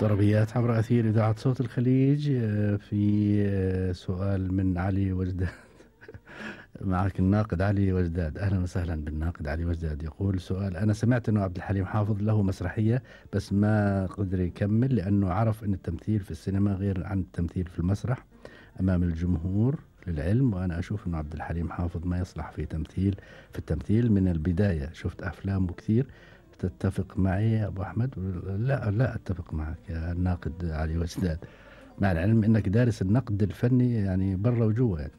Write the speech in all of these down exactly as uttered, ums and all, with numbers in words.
طربيات عبر أثير إذاعة صوت الخليج. آه، في آه، سؤال من علي وجداد. معك الناقد علي وجداد. أهلا وسهلا بالناقد علي وجداد. يقول سؤال: أنا سمعت أنه عبد الحليم حافظ له مسرحية بس ما قدر يكمل لأنه عرف أن التمثيل في السينما غير عن التمثيل في المسرح أمام الجمهور. للعلم وأنا أشوف أنه عبد الحليم حافظ ما يصلح في تمثيل في التمثيل من البداية. شفت أفلامه كثير. تتفق معي يا أبو أحمد؟ لا لا أتفق معك يا الناقد علي وجداد، مع العلم أنك دارس النقد الفني يعني برا وجوا يعني.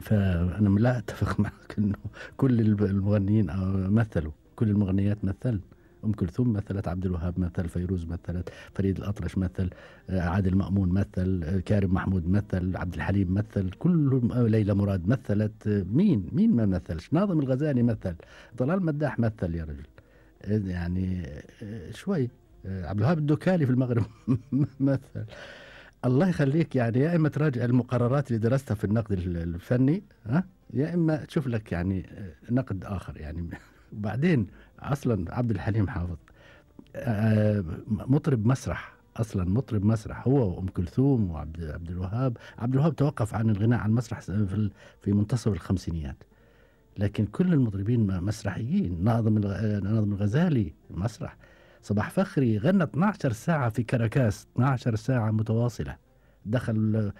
فأنا لا أتفق معك أنه كل المغنيين مثلوا، كل المغنيات مثل. أم كلثوم مثلت، عبد الوهاب مثل، فيروز مثلت، فريد الأطرش مثل، عادل مأمون مثل، كارم محمود مثل، عبد الحليم مثل، كلهم، ليلى مراد مثلت. مين مين ما مثلش؟ ناظم الغزالي مثل، طلال مداح مثل يا رجل يعني شوي. عبد الوهاب الدكالي في المغرب مثل. الله يخليك يعني، يا إما تراجع المقررات اللي درستها في النقد الفني، ها، يا إما تشوف لك يعني نقد آخر يعني. وبعدين أصلا عبد الحليم حافظ مطرب مسرح، أصلا مطرب مسرح هو وأم كلثوم وعبد عبد الوهاب. عبد الوهاب توقف عن الغناء عن المسرح في في منتصف الخمسينيات، لكن كل المطربين مسرحيين. ناظم ناظم الغزالي مسرح. صباح فخري غنى اثنتي عشرة ساعة في كاراكاس، اثنتي عشرة ساعة متواصلة، دخل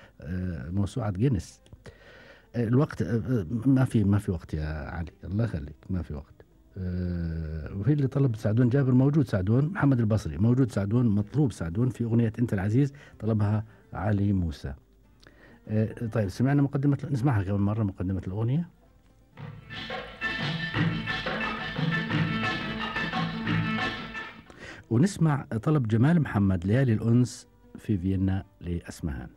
موسوعة جينيس. الوقت ما في ما في وقت يا علي، الله يخليك، ما في وقت. وفي اللي طلب سعدون جابر، موجود سعدون. محمد البصري موجود سعدون، مطلوب سعدون في أغنية أنت العزيز، طلبها علي موسى. طيب سمعنا مقدمة، نسمعها كمان مرة مقدمة الأغنية. ونسمع طلب جمال محمد، ليالي الأنس في فيينا لأسمهان.